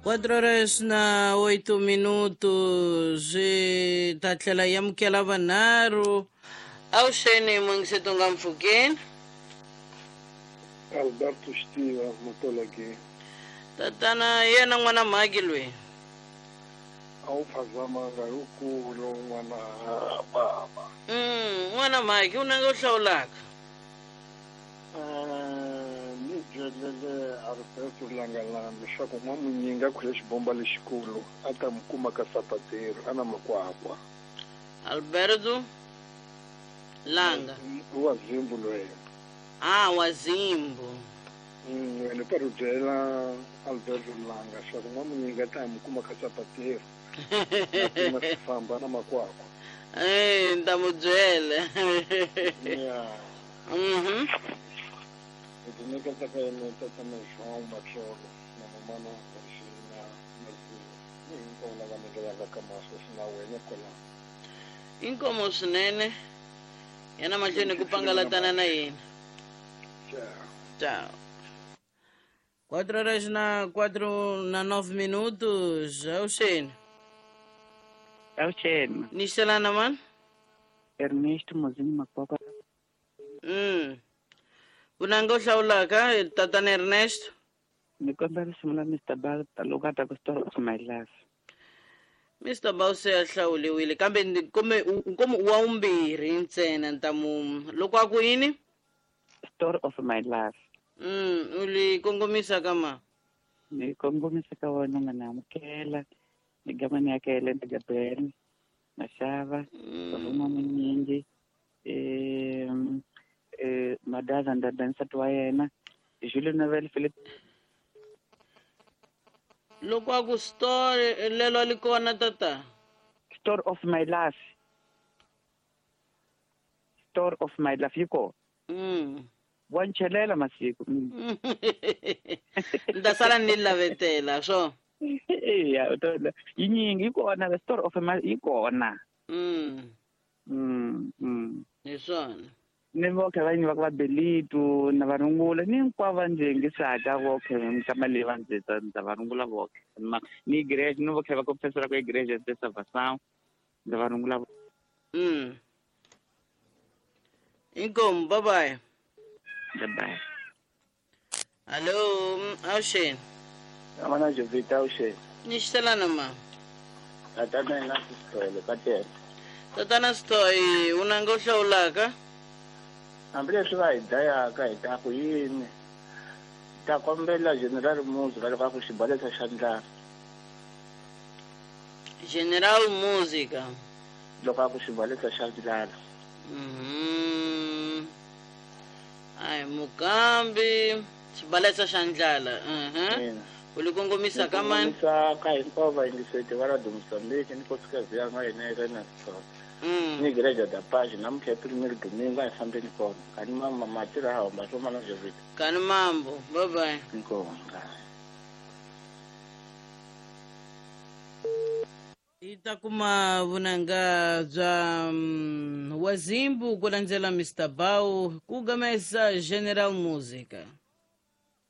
4 horas na 8 minutos hi ta tlhela hi amukela vanharhu avuxeni mungiseto nga mpfhukeni. Alberto Xitiva Matola ke. Tatana hi yena n'wana mhaki loyi. A wu phazamanga hi wukulu n'wana baba. N'wana mhaki u nanga u hlawulaka. Ni byelele Alberto Langalanga leswaku n'wamunyingi a khwele xibomba lexikulu a ta mu kuma ka Sapateru a na makwakwa. Alberto Langa. Wa Zimbu loyi. Ah, wa Zimbu. Wena u ta ri byela Alberto Langa leswaku n'wamunyingi a ta mu kuma ka Sapateru a kuma xifamba na makwakwa. Eh, ni ta mu byela. Yeah. Hi ti nyiketa ka yena tatana João Matsolo na mamana Regina Maziya ni hinkwavo lava nikelaka ka masweswi na wena kwalano. Inkomo swinene. Yana mahlweni ku pangalatana na yena. Ciao. Ciao. 4 horas na 4 na 9 minutos. Avuxeni. Avuxeni. Ni xelana mani? Ernesto Mozini Makwakwa. Vunanga u hlawulaka tatana Ernesto? Ni kombela risimu la Mr. Balta loko a ta ku Story of My Life. Mr. Bao se a hlawuliwile kambe ni kumbe nkomo wa vumbirhi ntsena ni ta mu loko a ku yini? Story of My Life. U li kongomisa ka ma? Ni kongomisa ka wena nga na amukela ni gama ni yakele na Gabriel Mashava Ruma Munyingi Madaza Ndada nsati wa yena Jules Novel Philip. Loko a ku story lelo li kona tata. Story of My Life. Story of My Life yi kona. Wa nchelela masiku. Ni ta sala ni lavetela swo. Eya, u ta yinyingi yi kona the Story of My yi kona. Hi swona. Ni voke va yini va ku va Belitu na va rungula ni hinkwavo va ndzi yingisaka voke minkama leyi va ndzi ndza va rungula voke. Ni igreja ni voke va confessela ku igreja de salvação ndza va rungula. Inkomu, bye bye. Bye bye. Hello, avuxeni. Amana Jovita avuxeni. Ni xitelana ma. Tatana na Sithole ka tele. Tatana Sithole, u nanga u hlawulaka? Hambileswi va hi dlayaka hi ta ku yini? Ta kombela General Music loko a ku xibalesa xa ndlala. General Music. Loko a ku xibalesa xa ndlala. Ai Mukambi xibalesa xa ndlala. U li kongomisa ka mani? Kongomisa ka hinkwavo vayingiseti va Radio Mozambique ni nkosikazi ya n'wa hina Irene Sithole. Ni Igreja da Paz namuntlha hi primero domingo a hi fambeni kona. Kani mama matira ha hamba swo mana Jovita. Kani mambo. Bye bye. Inkomu. Hi ta kuma vunanga bya Wazimbu ku landzela Mr. Bao ku gamesa General Music.